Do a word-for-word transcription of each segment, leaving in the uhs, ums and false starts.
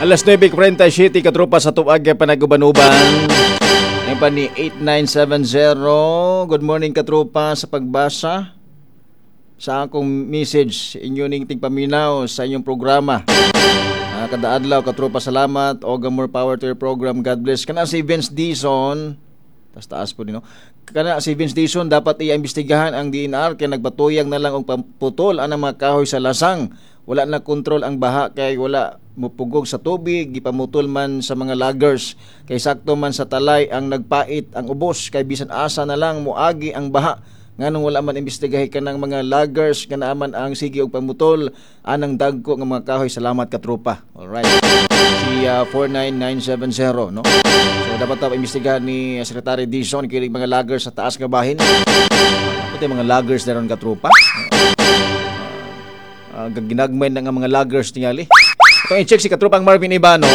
Alas nuwebe kuwarenta y siyete, katropa, sa Tub-ag Panagubanuban. Ngayon pa ni eight nine seven zero. Good morning, katropa, sa pagbasa sa akong message inyo ning tingpaminaw sa inyong programa. Ah, kada adlaw, katropa, salamat og more power to your program. God bless. Kana si Vince Dizon, tas taas po din, no? Kana si Vince Dizon, dapat iimbestigahan ang D E N R kay nagbatuyang na lang og pamputol ang mga kahoy sa lasang. Wala na kontrol ang baha kay wala mupugog sa tubig, gipamutol man sa mga loggers kay sakto man sa talay ang nagpait ang ubos kay bisan asa na lang moagi ang baha. Nganong wala man imbestigahi kanang mga loggers nga naaman ang sige og pamutol anang dagko nga mga kahoy? Salamat, katropa. Alright. Si uh, four nine nine seven zero, no? So dapat ta imbestigahan ni Secretary Dizon kini mga loggers sa taas nga bahin. Pati mga loggers na ron, katropa. Uh, ginagmay na nga mga loggers tingali. Ito i-check si katropang Marvin Ibano.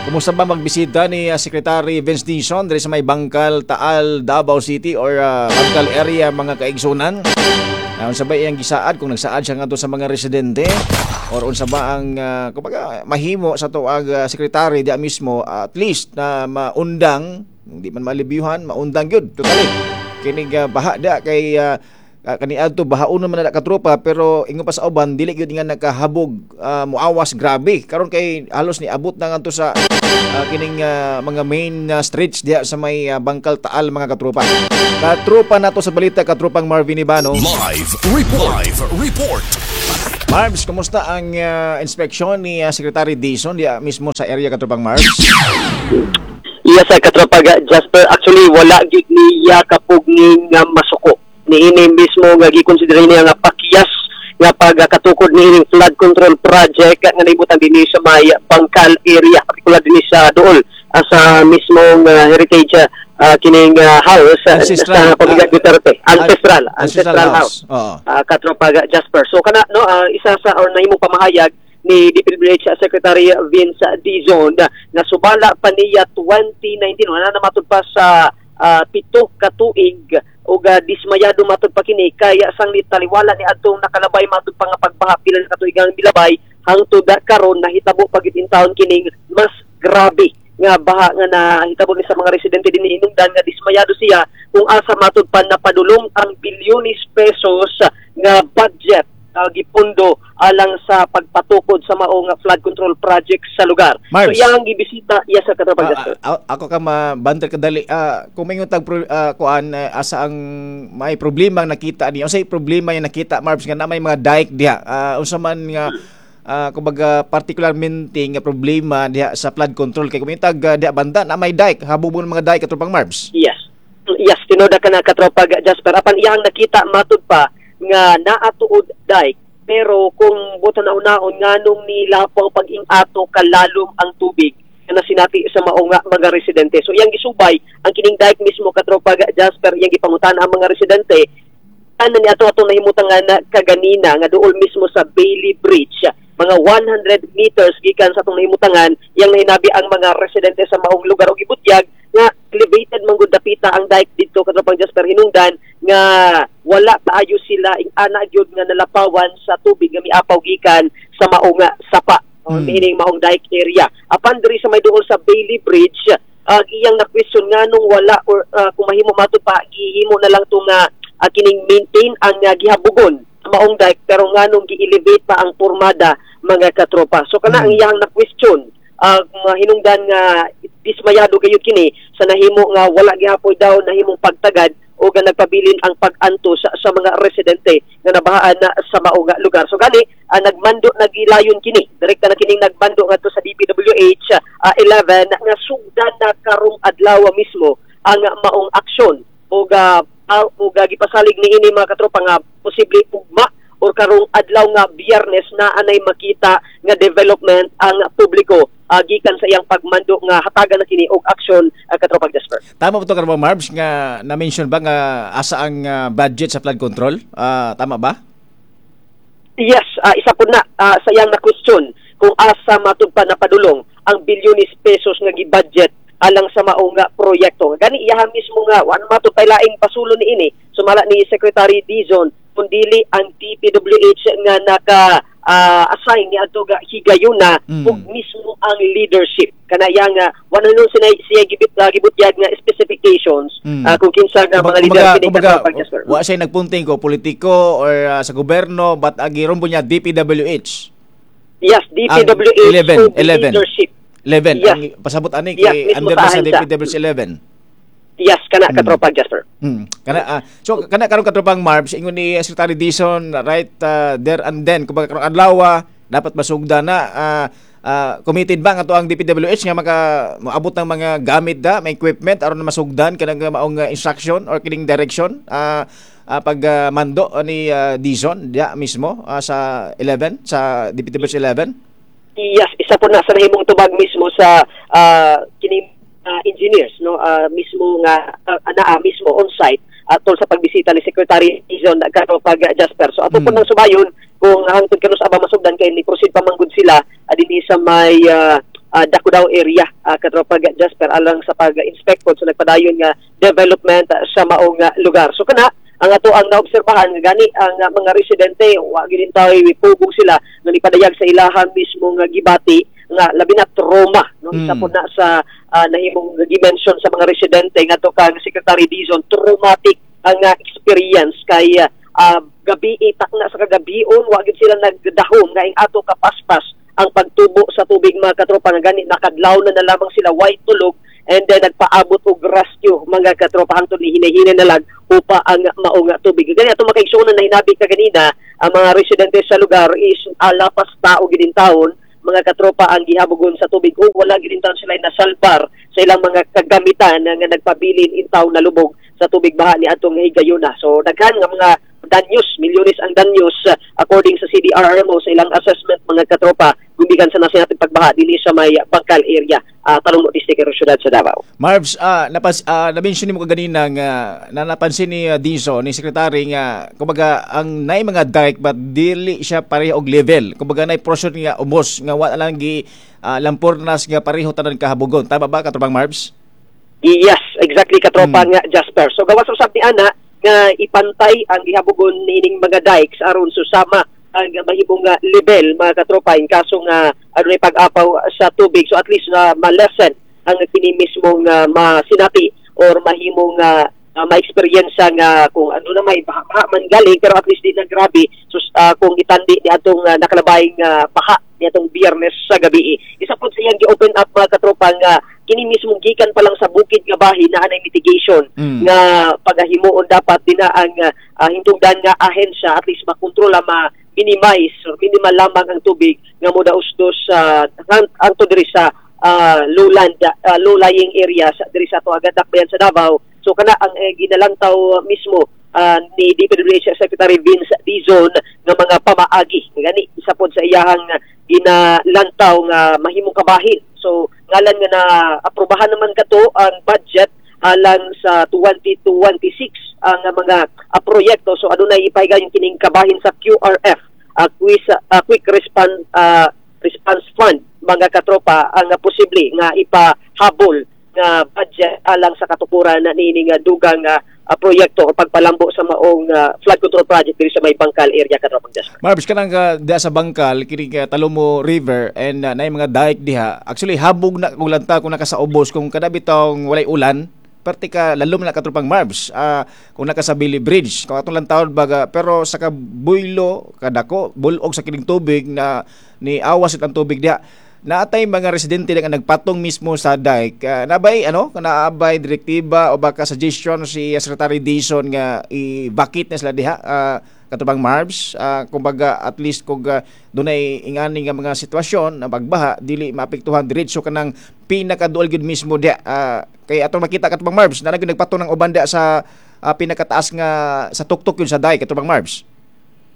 Kumusta ba magbisita ni uh, Secretary Vince Dizon diri sa may Bangkal, Taal, Davao City or uh, Bangkal area, mga kaigsunan? Uh, unsa ba iyang gisaad, kung nagsaad siya ngadto sa mga residente or unsa ba ang uh, kumbaga mahimo sa tuag uh, secretary diya mismo, uh, at least na maundang, hindi man malibyuhan, maundang gyud totally kining uh, baha da kay uh, uh, kaniadto bahaon man na, katropa, pero ingon pa sa uban, dili gyud nga nakahabog, uh, muawas grabe karon kay halos ni abot na ngadto sa uh, kining uh, mga main uh, streets diha sa may uh, Bangkal Taal, mga katropa. Katropa nato sa balita, katropang Marvin Ibano. Live Report. Live Report. Marbs, kumusta ang uh, inspeksyon ni uh, Secretary Dizon diha mismo sa area, katropang Marbs? Iya sa katropa Jasper, actually wala gid niya kapugni nga masuko. Niini mismo nga gikonsider niya nga pakyas nga pagkatukod niining flood control project nga naibutang dinhi sa may Bangkal area, particular dinhi sa Dool, ah, sa mismong ah, heritage ah, kining ah, house ah, Ancestral, sa pamilya ah, Duterte. Ancestral, ancestral ancestral house. house. Oo. Ah, katropa Jasper. So kana, no, ah, isa sa or nahimong pamahayag ni D P W H Secretary Vince Dizon na subala pa niya twenty nineteen, wala na matud pa sa ah, pito ka tuig ug uh, dismayado matud pa kini kay sang taliwala ni adtong nakalabay matud pa nga pagbaha, pila na katuig ang milabay, hangtod karon nahitabo pa gid intawon kining mas grabe nga baha nga nahitabo ni sa mga residente dinhi hinungdan nga dismayado siya kung asa matud pa napadulong ang bilyones pesos nga budget uh, gipundo alang sa pagpatukod sa mao nga flood control project sa lugar. Marbs. So iyang gibisita iya sa katropa Ah, Jasper. ah, ako ka mabanter kadali, ah, kung may tag uh, kuan, eh, asa ang may problema ang nakita niya, unsay problema yung nakita, Marbs, nga na may mga dike diha, Ah, unsa man nga ah, kumbaga particularmente nga problema diha sa flood control, kay kung may tag ah, diha banda na may dike, habubon mga dike, katropang Marbs? Yes. Yes, tinuod ka na, katropa Jasper. Apan iyang nakita matud pa nga naatuod dike, pero kung buta na unaon nganong nilapaw pag-ing-ato kalalom ang tubig nga nasinati sa mao nga mga residente. So iyang gisubay ang kining dike mismo, katropa Jasper, iyang gipangutan ang mga residente ano ni ato atong nahimutan nga na kaganina nga duol mismo sa Bailey Bridge, mga one hundred meters gikan sa atong nahimutangan, yang nahinabi ang mga residente sa maong lugar og gibutyag nga elevated man gud dapita ang dike didto, katropang Jasper, hinungdan nga wala kaayo sila ing ana gyud nga nalapawan sa tubig nga miapaw gikan sa mao nga sapa o Hmm. meaning maong dike area. Apan diri sa may duol sa Bailey Bridge, uh, iyang na question nganong wala or uh, kung mahimo matud pa gihimo na lang tong uh, uh, kining maintain ang uh, gihabugon sa maong dike, pero nganong gi-elevate pa ang pormada, mga katropa. So kana Mm. ang iyang na question, uh, mga hinungdan nga dismayado gayud kini sa nahimo nga wala gihapoy daw nahimong pagtagad o nga nagpabilin ang pag-antos sa, sa mga residente nga nabahaan na sa mao nga lugar. So gani uh, nagmando nagilayon kini. Direkta na kining nagmando ngadto sa D P W H uh, eleven nga sugdan na karong adlaw mismo ang maong aksyon ug uh, uh, ug uh, gipasalig niini, mga katropa, nga posible ugma or karong adlaw nga Biyernes na anay makita nga development ang publiko uh, gikan sa iyang pagmando nga hatagan na kini og aksyon, uh, katropa Jasper. Tama ba ito, Karma Marbs, nga na-mention ba nga asa ang ah, budget sa flood control? Ah, tama ba? Yes, ah, isa po na ah, sa iyang na question kung asa matud pa napadulong ang bilyones pesos nga gi-budget alang sa mao nga proyekto. Gani iyaha mismo nga wa matud pay laing pasulo niini sumala ni Secretary Dizon kundili ang D P W H nga naka uh, assign ni adto ga higayuna Mm. ug mismo ang leadership kana yang uh, wala nun siya siya gibit uh, gibutyag nga specifications Mm. uh, kung kinsa nga mga leader Kumbaga, kini kumbaga, katropang Jasper. wa siya nagpunting ko politiko or uh, sa gobyerno, but agi rumbo niya D P W H. Yes, D P W H eleven, ug eleven. leadership. eleven Yes. ang pasabot ani Yes, kay mismo under na sa sa ahensya. D P W H eleven. Yes, kana Mm. katropang Jasper. Hmm. Kana ah, so kana karon, katropang Marbs, ingon ni Secretary Dizon right uh, there and then, kumbaga karong adlaw dapat masugda na. ah, ah, committed ba nga to ang D P W H nga maka moabot ng mga gamit da, may equipment aron na masugdan kanang maong uh, instruction or kining direction ah ah, pag ah, mando ni uh, Dizon diya mismo ah, sa eleven, sa D P W H eleven? Yes, isa po na sa nahimong tubag mismo sa ah, kini ah, engineers, no, ah, mismo nga uh, naa mismo on site atol sa pagbisita ni Secretary Dizon, katropang Jasper. So ato po Mm. nang subayon kung hangtod kanus aba masugdan kay ni proceed pa manggod sila uh, dinhi sa may uh, uh, Dacudao area, uh, katropang Jasper, alang sa pag-inspect pod sa nagpadayon nga development ah, sa maong ah, lugar. So kana ang ato ang naobserbahan nga gani ang uh, mga residente wa gid tayo pugong sila nga nipadayag sa ilahan mismo nga gibati nga labi na trauma, no. Isa Mm. po na sa ah, nahimong gi-mention sa mga residente ngadto kang Secretary Dizon, traumatic ang ah, experience kay ah, ah, gabi itak na sa kagabion wa gid sila nagdahom nga ing ato kapaspas ang pagtubo sa tubig, mga katropa, nga gani nakadlaw na na lamang sila, way tulog, and then nagpaabot og rescue, mga katropa, hangtod ni hinay-hinay na lang upa ang maong tubig. Gani ato makaigsuonan na hinabi ka ganina, ang mga residente sa lugar is uh, lapas tao gid taon, mga katropa, ang gihabogon sa tubig ug wala gid taon sila nasalbar sa ilang mga kagamitan nga nagpabilin in taon na lubog sa tubig baha ni atong higayuna. So daghan nga mga danyos, milyones ang danyos uh, according sa C D R R M O sa ilang assessment, mga katropa, gumikan sa nasinatang pagbaha dinhi sa may Bangkal area, uh, Talomo District, syudad sa Davao. Marbs, ah napas ah, na-mention nimo kaganina nga na napansin ni uh, Dizon, ni secretary, nga kumbaga ang nay mga dike but dili siya pareho og level. Kumbaga nay portion nga umos nga wala lang gi ah, lampurnas nga pareho tanan kahabogon. Tama ba, katropang Marbs? Yes, exactly, katropa Mm. nga Jasper. So gawas usab ni ana nga ipantay ang gihabogon niining mga dikes aron susama ang mahimong nga level, mga katropa, in kaso nga adunay pag-apaw sa tubig. So at least na ma-lessen ang kini mismong uh, masinati or mahimong uh, uh, ma-experience nga kung ano na may baha man galing, pero at least di na grabe. So uh, kung itandi ni atong uh, nakalabayng uh, baha ni atong Biyernes sa gabi. Isa po sa iyang gi-open up, mga katropa, nga kini mismong gikan pa lang sa bukid nga bahin na anay mitigation Mm. nga pagahimuon dapat din na ang uh, hintugdan nga ahensya, at least makontrola, ma minimize or minimal lamang ang tubig nga modausdos sa uh, anto diri sa uh, lowland, uh, low-lying areas diri sa ato agad dakbayan sa Davao. So kana ang eh, ginalantaw mismo uh, ni D P W H Secretary Vince Dizon nga mga pamaagi. Gani isa pod sa iyahang ginalantaw nga mahimong kabahin. So ngalan nga na aprobahan naman kato ang budget alang sa twenty twenty-six ang mga uh, proyekto. So adunay ipahigayon kining kabahin sa Q R F, uh, quick, uh, quick response uh, response fund, mga katropa, ang uh, posible nga ipahabol nga budget alang sa katukuran na niini nga dugang uh, uh, proyekto o pagpalambo sa maong uh, flood control project diri sa may Bangkal area, katropang Jasper. Marbs, kanang uh, diha sa Bangkal kini ka Talomo River and uh, naay mga dike diha. Actually habog na kung lanta kung naka sa ubos kung kada bitong walay ulan, perti ka lalom na, katropang Marbs. Ah, kung naka sa Billy Bridge, kung atong lantawon baga, pero sa kabuylo kadako bulog sa kining tubig na ni awas ang tubig diha. Naatay mga residente nga nagpatong mismo sa dike. Uh, nabay ano, naabay direktiba o baka suggestion si Secretary Dizon nga i-vacate na sila diha, uh, katropang Marbs? Uh, kumbaga at least kung uh, dunay ingani nga mga sitwasyon na pagbaha, dili maapektuhan diretso kanang pinakaduol gyud mismo diha. Uh, kay atong makita, katropang Marbs, na nagpatong ng uban diha sa uh, pinakataas nga sa tuktok yun sa dike, katropang Marbs.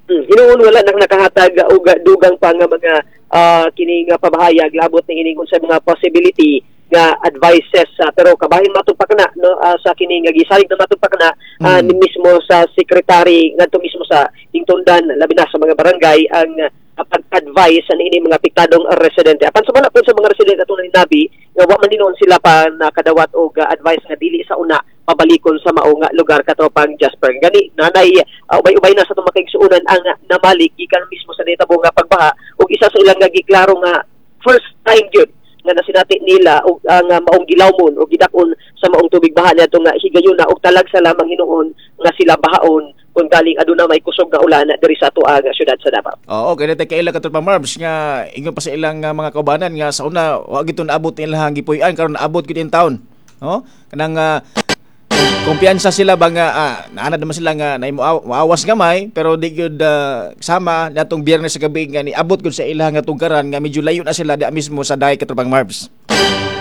Hmm, hinuon wala nang nakahatag og dugang pa nga mga uh, kini nga pamahayag labot ni ining unsay mga possibility nga advices, uh, pero kabahin matong pa kana, no, uh, sa kini nga gisalig na matong pa kana uh, Mm. ni mismo sa secretary ngadto mismo sa hingtundan, labi na sa mga barangay ang uh, pag-advise sa niini mga apektadong residente. Apan sa wala po sa mga residente atong hinabi nga wa man hinuon sila pa nakadawat og uh, advice nga dili sa una Pabalikon sa mao nga lugar, katropang Jasper. Gani nanay uh, ubay-ubay na sa atong makaigsuonan ang namalik gikan mismo sa nitabo nga pagbaha, ug isa sa ilang nga giklaro nga first time gyud nga nasinati nila og ang uh, maong gilawmon o gidakon sa maong tubig baha niadto nga higayuna, og talagsa lamang hinuon nga sila bahaon kung galing aduna may kusog nga ulan diri sa atoang syudad sa Davao. Oo, kaya natin kaila, katropa Marbs, nga ingon pa sa ilang uh, mga kaubanan nga sa una wa gito naabot ilang gipuy-an, karon naabot gid in town. No? Kanang uh, kumpiyansa sila ba nga ah, naanad naman sila nga naimo maawas gamay, pero di gyud uh, sama natong Biyernes sa gabi nga niabot gud sa ilang nga tugkaran nga medyo layo na sila di mismo sa dayk, katropang Marbs.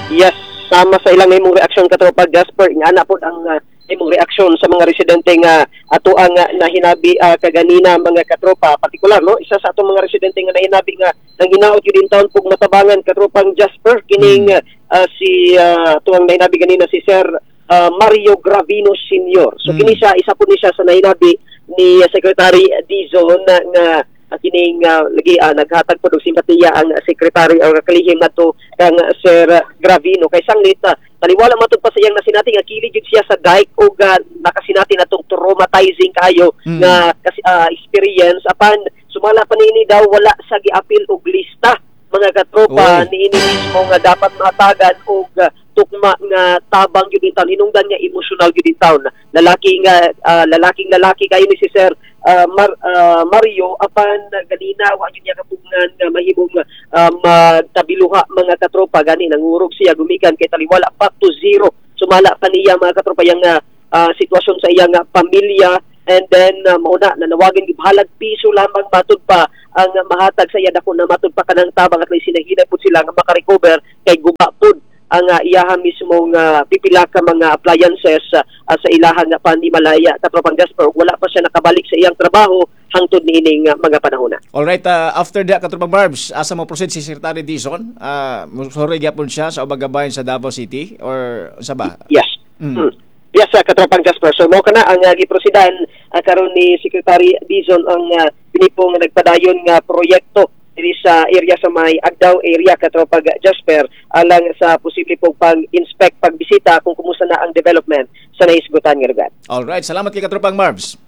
Yes, sama sa ilang imong reaksyon, katropa Jasper, nga ana pod ang uh, imong reaksyon sa mga residente nga ato ang uh, nahinabi uh, kaganina, mga katropa. Partikular, no, isa sa atong mga residente nga nahinabi nga nang hinaot yun in town pug matabangan, katropang Jasper, kining uh, uh, si uh, tuang nahinabi ganina si Sir uh, Mario Gravino Senior. So Mm. kini siya, isa po ni siya sa nahinabi ni uh, Secretary Dizon na nga uh, kining uh, lagi uh, naghatag po og simpatiya ang secretary o kalihim nato kang Sir Gravino kay sanglit uh, taliwala matud pa sa iyang nasinati nga kilid jud siya sa dike ug uh, nakasinati natong traumatizing kayo Mm. nga kasi uh, experience. Apan sumala pa niini daw, wala sa giapil og lista, mga katropa, Oy. niini mismo nga dapat mahatagan og uh, tukma nga tabang gyud in town, hinungdan nga emosyonal gyud in town. Lalaki nga ah, lalaking lalaki kayo ni si Sir ah, Mar, ah, Mario, apan uh, ganina wa gyud niya kapugnan nga mahimong uh, magtabiluha, mga katropa. Gani nangurog siya gumikan kay taliwala back to zero sumala pa niya, mga katropa, yang ah, ah, sitwasyon sa iyang ah, pamilya. And then uh, mao na nanawagan bahalag piso lamang matud pa ang mahatag sa iya, dako na matud pa kanang tabang, at least sinahinay pud sila nga makarecover kay guba pud ang uh, iyaha mismo nga pipila ka mga appliances uh, sa ilahang nga panimalaya, katropang Jasper. Wala pa siya nakabalik sa iyang trabaho hangtod niining uh, mga panahon na. Alright, uh, after that, katropang Marbs, asa mo proceed si Secretary Dizon? Uh, sorry gyapon siya sa ubang gabayan sa Davao City or sa ba? Yes. Mm. Mm. Yes, uh, katropang Jasper. So mao kana ang uh, giprosidan uh, karon ni Secretary Dizon ang uh, pinipong nagpadayon nga proyekto diri sa area sa may Agdao area, katropang Jasper, alang sa posible pong pag-inspect, pagbisita kung kumusta na ang development sa nahisgutan nga lugar. Alright, salamat kay katropang Marbs.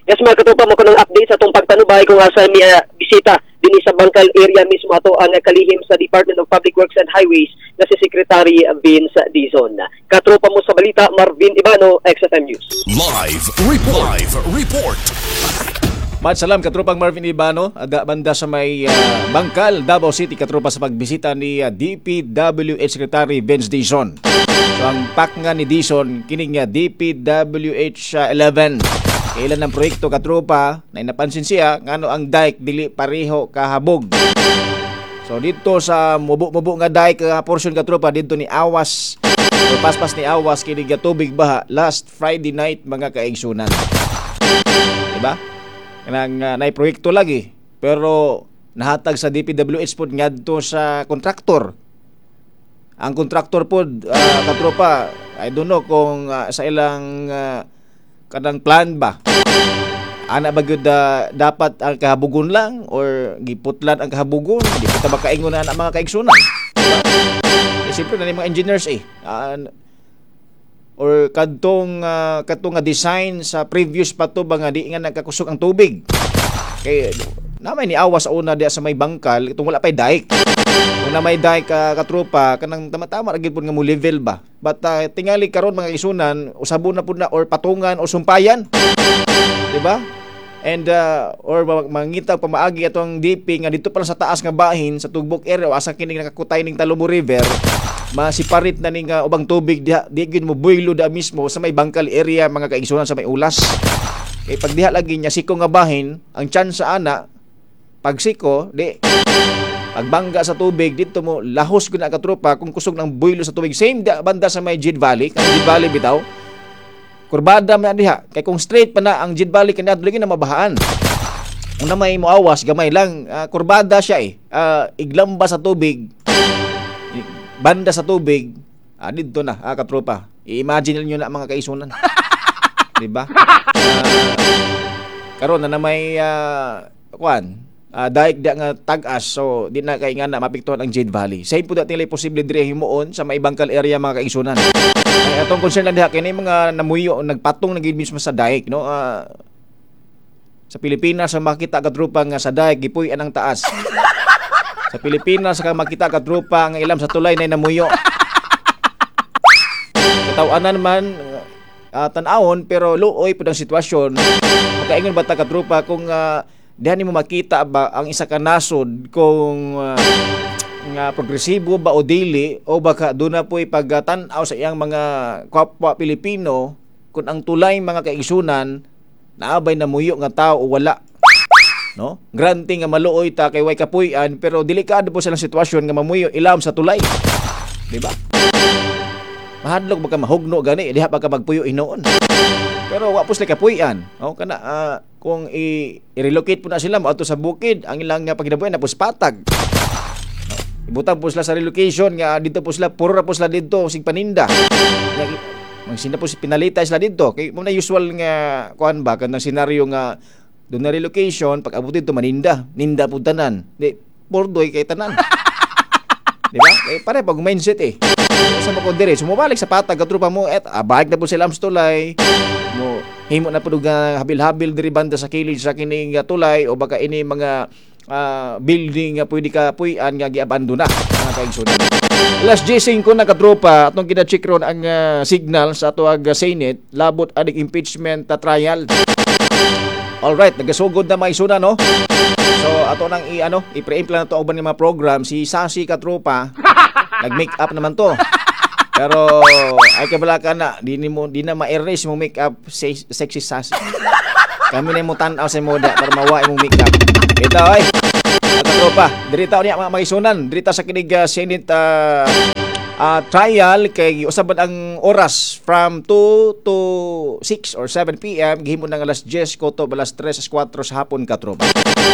Yes, mga katropa, mo kanang update sa atong pagtanubay kung asa mi uh, bisita dinhi sa Bangkal area mismo ato ang kalihim sa Department of Public Works and Highways na si Secretary Vince Dizon. Katropa mo sa balita, Marvin Ibano, X F M News. Live Report. Live Report. Mat salam katropang Marvin Ibano, aga banda sa may ah, Bangkal, Davao City, katropa, sa pagbisita ni ah, D P W H Secretary Vince Dizon. So ang pack nga ni Dizon kini nga D P W H ah, eleven. Kailan ng proyekto, katropa, na napansin siya ngano ang dike dili pareho kahabog. So dito sa mubo-mubo nga dike uh, portion, katropa, dito ni awas o paspas ni awas kini nga tubig baha last Friday night, mga kaigsunan. Diba? Kanang uh, nay proyekto lagi pero nahatag sa D P W H pod ngadto sa kontraktor. Ang kontraktor pod, uh, katropa, I don't know kung uh, sa ilang uh, kanang plan ba ana ba gyud uh, dapat ang kahabugon lang or giputlan ang kahabugon, di pa ta makaingon na ana, mga kaigsunan. Diba? Eh, siyempre na ni mga engineers eh. Ah, or kadtong uh, kadtong nga design sa previous pa to ba nga di nga nagkakusog ang tubig. Kay na may niawa sa una diya sa may Bangkal itong wala pay dike. Kung na may dike ka, katropa, kanang tama-tama ra gyud pud nga mo level ba. But uh, tingali karon, mga isunan, usabon na pud na or patungan o sumpayan. Diba? And uh, or ma- mangita pamaagi atong D P nga dito pa lang sa taas nga bahin sa Tugbok area o asa kini nakakutay ning Talomo River, masiparit na ning uh, ubang tubig diha, di gyud mo buylo da mismo sa may Bangkal area, mga kaigsunan, sa may Ulas. Kay pag diha lagi niya siko nga bahin, ang chance sa ana pagsiko di pagbangga sa tubig dito mo lahos gud na, katropa, kung kusog ng buylo sa tubig. Same da, banda sa may Jade Valley, kanang Jade Valley bitaw, kurbada man diha kay kung straight pa na ang Jade Valley kani lagi na mabahaan. Kung na may moawas gamay lang, ah, kurbada siya eh. Ah, iglamba sa tubig, banda sa tubig, ah, didto na, ah, katropa. I-imagine niyo na, mga kaisunan, di ba? Ah, karon na na may uh, kuan uh, dike da nga tag-as, so di na kay nga na mapiktuhan ang Jade Valley. Same po da tingali posible diri himuon sa may Bangkal area, mga kaigsunan. Ay, atong concern lang diha kay ni mga namuyo nagpatong na gid mismo sa dike, no? Ah, sa Pilipinas sa makita katropa nga sa dike gipuy-an ang taas. Sa Pilipinas ka makita katropa nga ilam sa tulay na namuyo. Katawanan man uh, tan-awon pero luoy pud ang sitwasyon. Makaingon ba ta katropa kung uh, diha nimo makita ba ang isa ka nasod kung uh, nga progresibo ba o dili o baka doon na po'y pagtan-aw sa iyang mga kapwa Pilipino kung ang tulay mga kaigsunan naabay na muyo nga tao o wala no granting nga maluoy ta kay way kapuy-an pero delikado po silang sitwasyon nga mamuyo ilam sa tulay di ba mahadlok baka mahugno gani diha pa ka magpuyo hinuon pero wa po sila kapuy-an o kana ah, kung i- i-relocate po na sila moadto sa bukid ang ilang nga pagkinabuhi na pus patag Ibutang po sila sa relocation nga dito po sila puro ra po sila dito sig paninda. Nga, Magsinda po si pinalita sila dito kay mo na usual nga kuan ba kanang senaryo nga doon na relocation pag abot dito maninda, ninda po tanan. Di pordoy kay tanan. Di ba? Kay pare pag mindset eh. Sa mo ko dire, sumubalik sa patag katropa mo et ah, balik na po sila sa tulay. Mo himo na po nga habil-habil diri banda sa kilid sa kining nga tulay o baka ini mga ah, building nga pwede ka puy-an nga giabando na mga kaigsunan. Alas five na katropa atong gina-check ron ang ah, signal sa ato ag Senate labot aning impeachment ah, trial. Alright, nagasugod na mga isuna no. So ato nang i ano, i-preempt lang nato ang uban nga mga program si Sasi katropa nag-make up naman to. Pero ay kabala ka na, di nimo di na ma-erase mo make up sexy Sasi. Kami na mo tan-aw sa moda para mawa imong make up. Ito ay. Mga katropa, dirita niya mga maisunan, dirita sa kinig uh, Senate uh, uh, trial kay usaban ang oras from two to six or seven p m gihimo ng alas ten koto alas tres alas kwatro sa hapon katropa.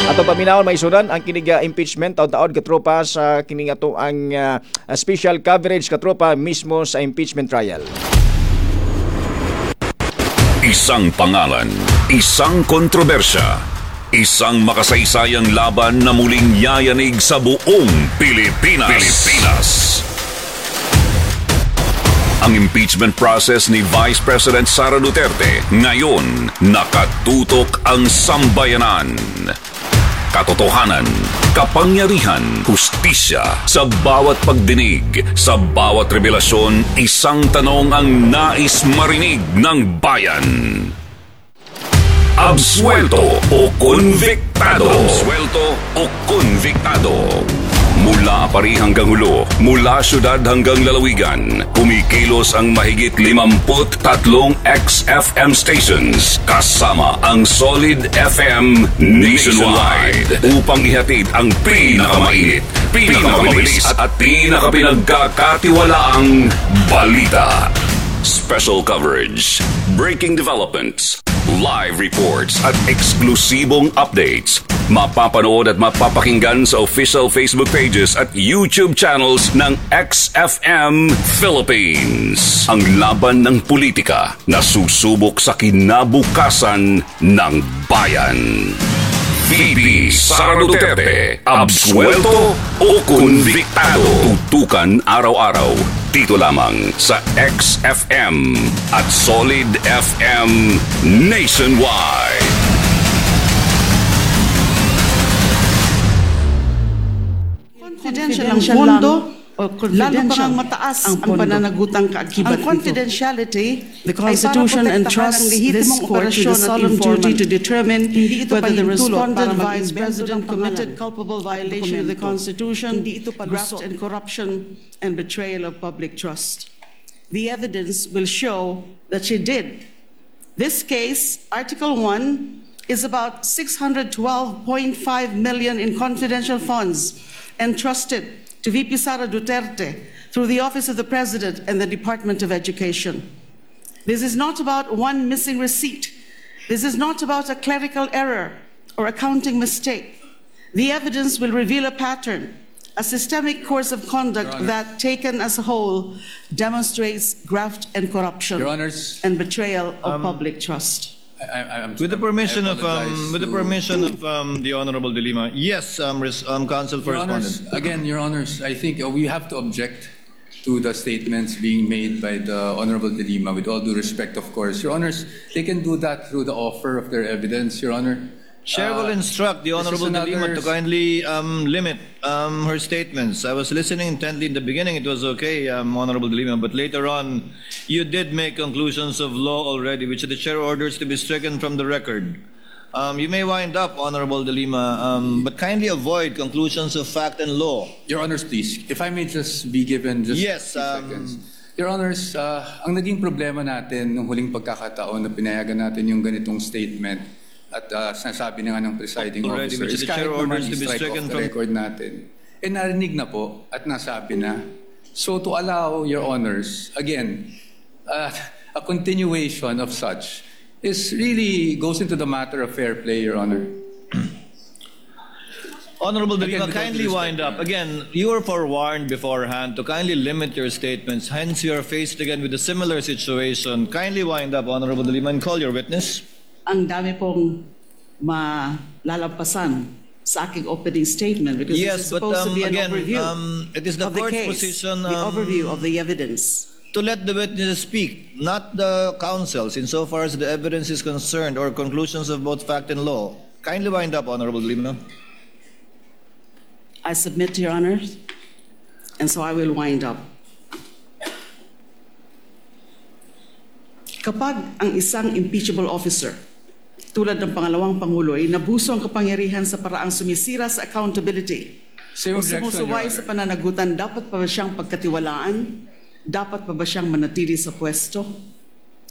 Ato paminawon maisunan ang kinig uh, impeachment taon-taon katropa sa kining ato ang uh, special coverage katropa mismo sa impeachment trial. Isang pangalan, isang kontrobersya, isang makasaysayang laban na muling yayanig sa buong Pilipinas. Pilipinas. Ang impeachment process ni Vice President Sara Duterte ngayon nakatutok ang sambayanan. Katotohanan, kapangyarihan, hustisya sa bawat pagdinig, sa bawat revelasyon, isang tanong ang nais marinig ng bayan. Absuelto o konbiktado? Absuelto o konbiktado? Mula Aparri hanggang Jolo, mula syudad hanggang lalawigan, kumikilos ang mahigit limampu't tatlong X F M stations kasama ang Solid F M nationwide upang ihatid ang pinakamainit, pinakamabilis at pinakapinagkakatiwalaang balita. Special coverage, breaking developments, live reports at eksklusibong updates. Mapapanood at mapapakinggan sa official Facebook pages at YouTube channels ng X F M Philippines. Ang laban ng politika na susubok sa kinabukasan ng bayan. V P Sara Duterte, absuelto o konbiktado? Tutukan araw-araw dito lamang sa X F M at Solid F M Nationwide. Confidential ang Confidential pondo, lang o lalo pa confidential ngang mataas ang ang, pondo. Pananagutang kaakibat Ang nito. confidentiality The ay para Constitution protektahan ang entrusts this lehitimong court with operasyon the at solemn informant. duty to determine Hindi ito whether the pahintulot respondent para vice mag-imbento president ng committed pangalan culpable at violation of the dokumento. Constitution, Hindi ito graft palusot. and corruption, and betrayal of public trust. The evidence will show that she did. This case, Article one, is about six hundred twelve point five million in confidential funds entrusted to V P Sara Duterte through the Office of the President and the Department of Education. This is not about one missing receipt. This is not about a clerical error or accounting mistake. The evidence will reveal a pattern, a systemic course of conduct Your Honor. That, taken as a whole, demonstrates graft and corruption Your Honors, and betrayal of public trust. I, I, I'm With the permission I of um, apologize with the to- permission of um, the Honorable De Lima, yes, um, res, um, counsel for Your Honors, respondent. Again, Your Honors, I think uh, we have to object to the statements being made by the Honorable De Lima, with all due respect, of course. Your Honors, they can do that through the offer of their evidence, Your Honor. Chair will Uh, instruct the this is Honorable De Lima another- to kindly um, limit um, her statements. I was listening intently in the beginning. It was okay, um, Honorable De Lima, but later on, you did make conclusions of law already, which the chair orders to be stricken from the record. Um, you may wind up, Honorable De Lima, um, but kindly avoid conclusions of fact and law. Your Honors, please, if I may just be given just Yes, few um, seconds. Your Honors, uh, ang naging problema natin nung huling pagkakataon na pinayagan natin yung ganitong statement at uh, sinasabi na nga ng presiding Already, officer which is the chair kahit naman orders to be i-strike off stricken the from- record natin, eh narinig na po at nasabi na. So to allow, Your Honors, again, uh, a continuation of such is really goes into the matter of fair play, Your Honor. Honorable De Again, Lima, with all due kindly respect, wind Your up. Honor. Again, you were forewarned beforehand to kindly limit your statements. Hence, you are faced again with a similar situation. Kindly wind up, Honorable De Lima, and call your witness. Ang dami pong malalampasan sa aking opening statement because Yes, this is but, supposed to um, be an again, overview um, it is the of the court's case, position, the um, overview of the evidence. To let the witnesses speak, not the counsels, insofar as the evidence is concerned or conclusions of both fact and law. Kindly wind up, Honorable De Lima. I submit to Your Honors, and so I will wind up. Kapag ang isang impeachable officer, tulad ng pangalawang Pangulo, ay nabuso ang kapangyarihan sa paraang sumisira sa accountability Same o objection, Your sumusuway Honor. sa pananagutan, dapat pa ba siyang pagkatiwalaan? Dapat pa ba siyang manatili sa pwesto?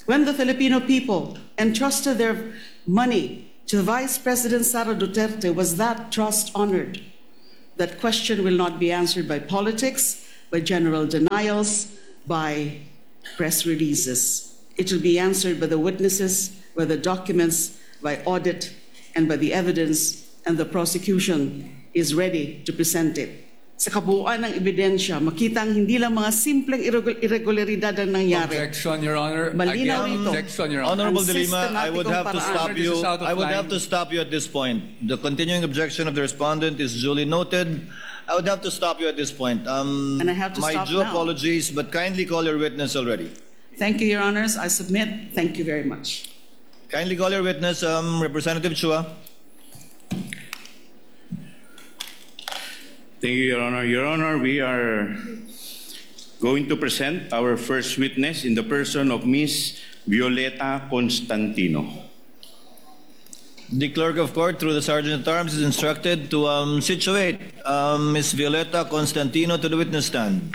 When the Filipino people entrusted their money to Vice President Sara Duterte, was that trust honored? That question will not be answered by politics, by general denials, by press releases. It will be answered by the witnesses, by the documents, by audit, and by the evidence, and the prosecution is ready to present it. Sa kabuuan ng ebidensya, makita ang hindi lang mga simpleng irregu- irregularidad ang nangyari. Objection, Your Honor. Malinaw Again, ito. objection, Your Honor. Honorable Ang De Lima, I would have to sistematikong stop paraan. you. This is out of I would line. have to stop you at this point. The continuing objection of the respondent is duly noted. I would have to stop you at this point. Um, And I have to my stop due now. apologies, but kindly call your witness already. Thank you, Your Honors. I submit. Thank you very much. Kindly call your witness, um, Representative Chua. Thank you, Your Honor. Your Honor, we are going to present our first witness in the person of Miss Violeta Constantino. The clerk of court, through the sergeant at arms, is instructed to um, situate um, Miss Violeta Constantino to the witness stand.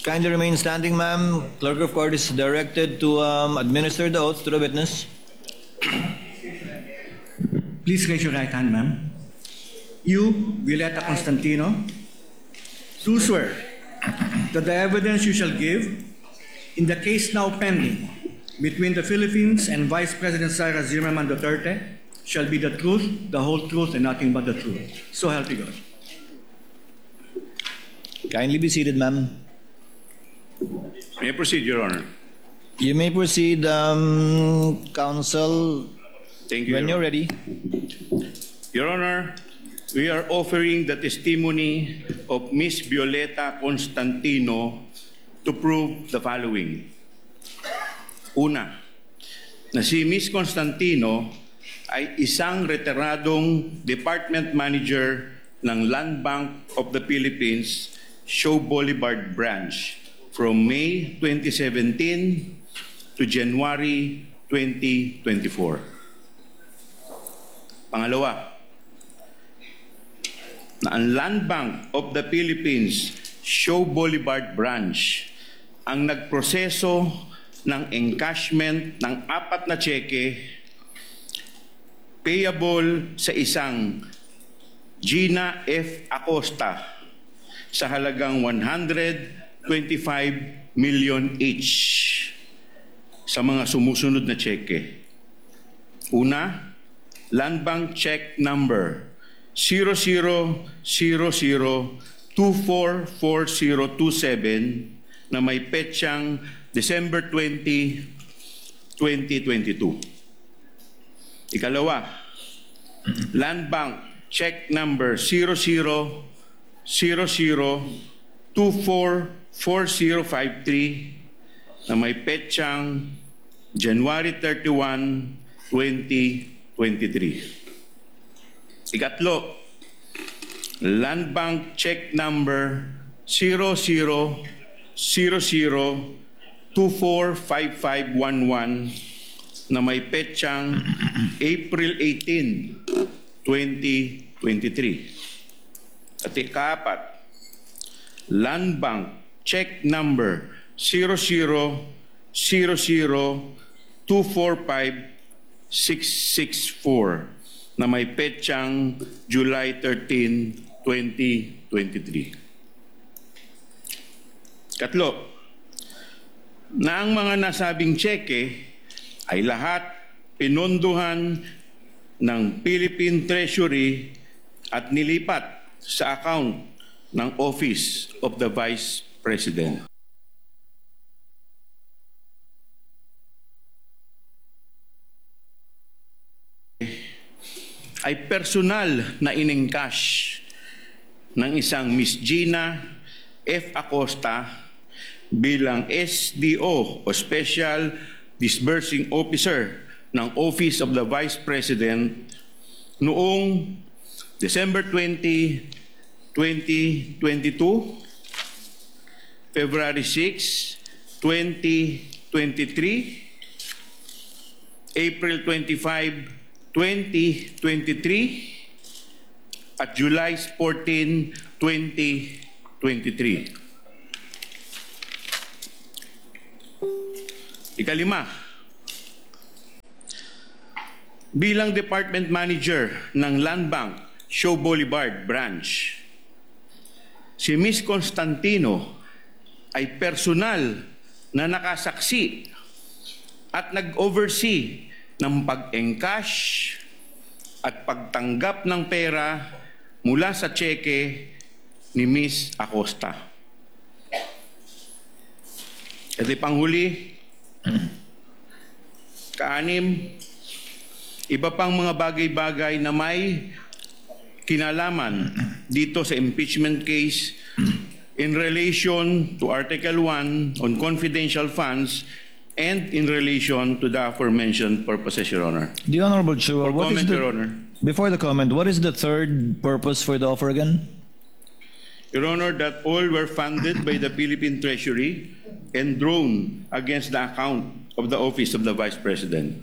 Kindly remain standing, ma'am. Clerk of court is directed to um, administer the oath to the witness. Please raise your right hand, ma'am. You, Violeta Constantino, do swear that the evidence you shall give in the case now pending between the Philippines and Vice President Sara Zimmerman Duterte shall be the truth, the whole truth, and nothing but the truth. So help you God. Kindly be seated, ma'am. May I proceed, Your Honor? You may proceed, um, counsel, Thank you. when Your you're ready. Your Honor, we are offering the testimony of Miss Violeta Constantino to prove the following. Una, na si Miss Constantino ay isang retiradong department manager ng Land Bank of the Philippines, Shaw Boulevard Branch from May twenty seventeen to January twenty twenty-four. Pangalawa, na ang Land Bank of the Philippines, Shaw Boulevard Branch ang nagproseso ng encashment ng apat na tseke payable sa isang Gina F. Acosta sa halagang one hundred twenty-five million each sa mga sumusunod na tseke. Una, Land Bank check number zero zero zero zero two four four zero two seven na may petsang December twenty, twenty twenty-two. Ikalawa, Land Bank check number zero zero zero zero two four four zero five three na may petsang January thirty-one, twenty twenty-three. Ikatlo, Land Bank check number zero zero zero zero two four five five one one na may petsang April eighteen, twenty twenty-three. At ikaapat, Land Bank check number zero zero zero zero two four five six six four na may petsang July thirteen, twenty twenty-three. Katlo, na ang mga nasabing tseke ay lahat pinondohan ng Philippine Treasury at nilipat sa account ng Office of the Vice President. Ay personal na in-encash ng isang Miss Gina F. Acosta bilang S D O o Special Disbursing Officer ng Office of the Vice President noong December twenty, twenty twenty-two, February six, twenty twenty-three, April twenty-five, twenty twenty-three, at July fourteen, twenty twenty-three. Ikalima, bilang Department Manager ng Land Bank Shaw Boulevard Branch, si Miss Constantino ay personal na nakasaksi at nag-oversee ng pag-encash at pagtanggap ng pera mula sa tseke ni Miss Acosta. At panghuli, kaanim, iba pang mga bagay-bagay na may kinalaman dito sa impeachment case in relation to Article one on confidential funds and in relation to the aforementioned purposes, Your Honor. The Honorable Chua, For what is comment, the, Your Honor. Before the comment, what is the third purpose for the offer again? Your Honor, that all were funded by the Philippine Treasury and drawn against the account of the Office of the Vice President.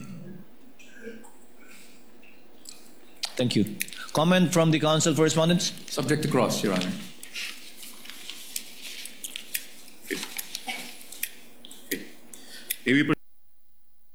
Thank you. Comment from the counsel for respondents? Subject to cross, Your Honor. May we